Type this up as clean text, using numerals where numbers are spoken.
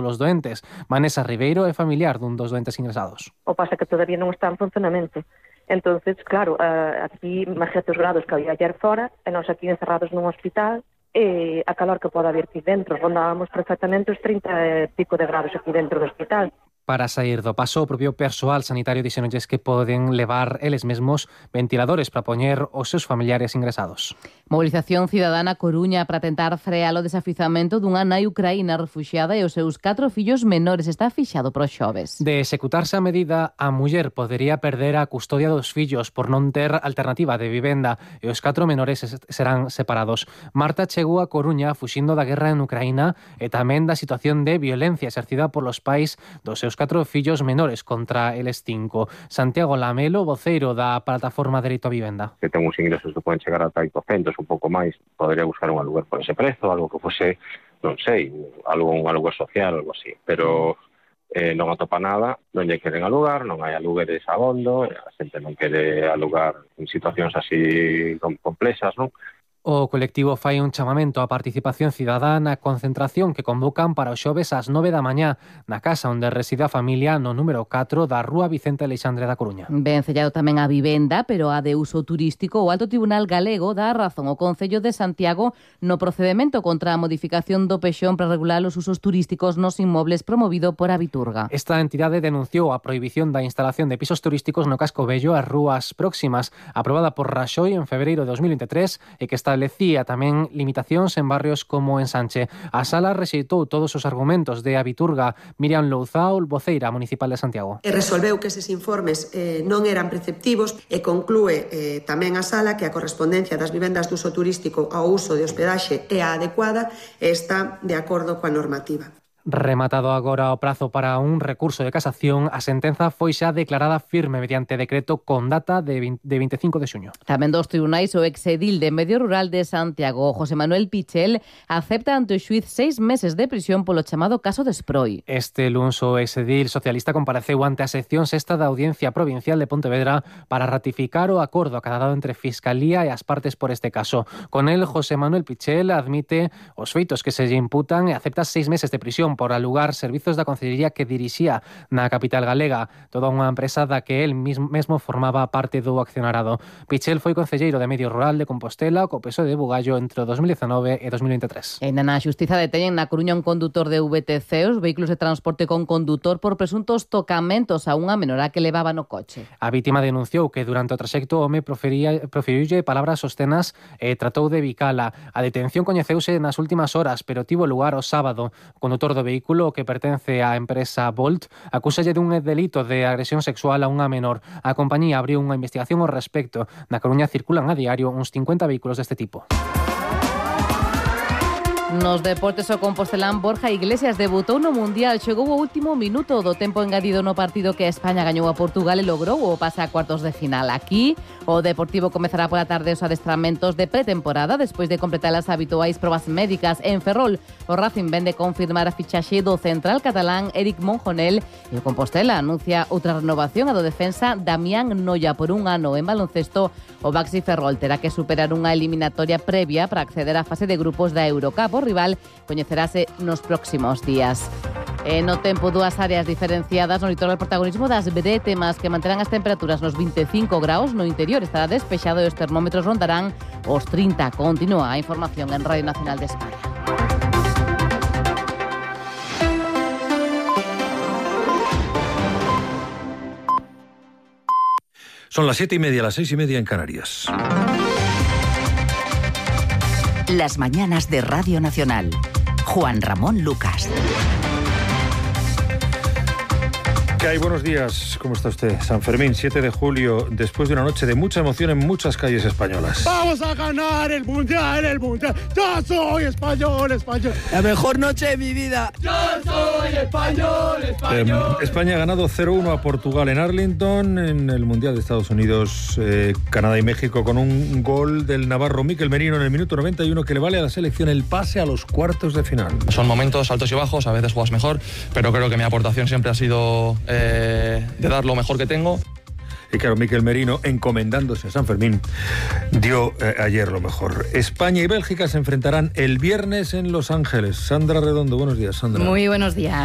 polos doentes. Vanessa Ribeiro é familiar dun dos doentes ingresados. O pasa que todavía non está en funcionamento. Entonces, claro, aquí imagínate os grados que había ayer fora, e nós aquí encerrados nun hospital, e a calor que pode haber aquí dentro. Rondábamos perfectamente os 30 e pico de grados aquí dentro do hospital. Para sair do paso, o propio persoal sanitario dixéronlles que poden levar eles mesmos ventiladores para poñer os seus familiares ingresados. Movilización cidadana Coruña para tentar frear o desafizamento dunha nai ucraína refuxiada e os seus 4 fillos menores. Está fixado para os xoves. De executarse a medida, a muller podería perder a custodia dos fillos por non ter alternativa de vivenda e os 4 menores serán separados. Marta chegou a Coruña fuxindo da guerra en Ucraína e tamén da situación de violencia exercida polos pais dos seus 4 fillos menores contra eles 5. Santiago Lamelo, voceiro da plataforma Dereito a Vivenda. Que ten uns ingresos que poden chegar ata 800, un pouco máis, podería buscar un aluguer por ese prezo, algo que fose, non sei, un aluguer social ou algo así, pero non atopa nada, non lle queren alugar, non hai alugueres abondo, a xente non quere alugar en situacións así complexas, non? O colectivo fai un chamamento á participación cidadá na concentración que convocan para os xoves ás 9 da mañá na casa onde reside a familia no número 4 da Rúa Vicente Aleixandre da Coruña. Ben sellado tamén a vivenda, pero a de uso turístico. O Alto Tribunal Galego dá razón ao Concello de Santiago no procedemento contra a modificación do pexón para regular os usos turísticos nos inmobles promovido por Abiturga. Esta entidade denunciou a prohibición da instalación de pisos turísticos no casco vello ás rúas próximas, aprobada por Raxoi en febreiro de 2023 e que establecía tamén limitacións en barrios como en Sanche. A sala rexeitou todos os argumentos de Abiturga. Miriam Louzao, voceira municipal de Santiago. E resolveu que eses informes non eran preceptivos e conclúe tamén a sala que a correspondencia das vivendas de uso turístico ao uso de hospedaxe é a adecuada e está de acordo coa normativa. Rematado agora o prazo para un recurso de casación, a sentenza foi xa declarada firme mediante decreto con data de 25 de xuño. Tamén dos tribunais o exedil de Medio Rural de Santiago, José Manuel Pichel, acepta ante o xuiz 6 meses de prisión polo chamado caso de Sproi. Este luns o exedil socialista compareceu ante a sección sexta da Audiencia Provincial de Pontevedra para ratificar o acordo acadado entre Fiscalía e as partes por este caso. Con el, José Manuel Pichel admite os feitos que se lle imputan e acepta 6 meses de prisión por alugar servizos da Concellería que dirixía na capital galega, toda unha empresa da que el mesmo formaba parte do accionarado. Pichel foi concelleiro de Medio Rural de Compostela co PSOE de Bugallo entre 2019 e 2023. E na xustiza deteñen na Coruña un condutor de VTC, os vehículos de transporte con condutor, por presuntos tocamentos a unha menora que levaba no coche. A vítima denunciou que durante o traxecto o home proferiulle palabras obscenas e tratou de bicala. A detención coñeceuse nas últimas horas, pero tivo lugar o sábado. O condutor do vehículo, que pertence á empresa Bolt, acúsalle dun delito de agresión sexual a unha menor. A compañía abriu unha investigación ao respecto. Na Coruña circulan a diario uns 50 vehículos deste tipo. Nos deportes, o compostelán Borja Iglesias debutou no Mundial. Chegou o último minuto do tempo engadido no partido que España gañou a Portugal e logrou o pase a cuartos de final. Aquí, o Deportivo comezará pola tarde os adestramentos de pretemporada despois de completar as habituais probas médicas. En Ferrol, o Racing vende confirmar a fichaxe do central catalán Eric Monjonel e o Compostela anuncia outra renovación a do defensa Damián Noia por un ano. En baloncesto, o Baxi Ferrol terá que superar unha eliminatoria previa para acceder á fase de grupos da Eurocup. O rival coñecerase nos próximos días. No tempo, dúas áreas diferenciadas. No litoral, protagonismo das brétemas que manterán as temperaturas nos 25 graus. No interior estará despexado e os termómetros rondarán os 30. Continúa a información en Radio Nacional de España. Son las 7:30, las 6:30 en Canarias. Las mañanas de Radio Nacional. Juan Ramón Lucas. ¿Qué hay? Buenos días. ¿Cómo está usted? San Fermín, 7 de julio, después de una noche de mucha emoción en muchas calles españolas. ¡Vamos a ganar el Mundial, el Mundial! ¡Yo soy español, español! ¡La mejor noche de mi vida! ¡Yo soy español, español! España ha ganado 0-1 a Portugal en Arlington, en el Mundial de Estados Unidos, Canadá y México, con un gol del navarro Mikel Merino en el minuto 91 que le vale a la selección el pase a los cuartos de final. Son momentos altos y bajos, a veces juegas mejor, pero creo que mi aportación siempre ha sido de dar lo mejor que tengo. Y claro, Mikel Merino, encomendándose a San Fermín, dio ayer lo mejor. España y Bélgica se enfrentarán el viernes en Los Ángeles. Sandra Redondo, buenos días, Sandra. Muy buenos días.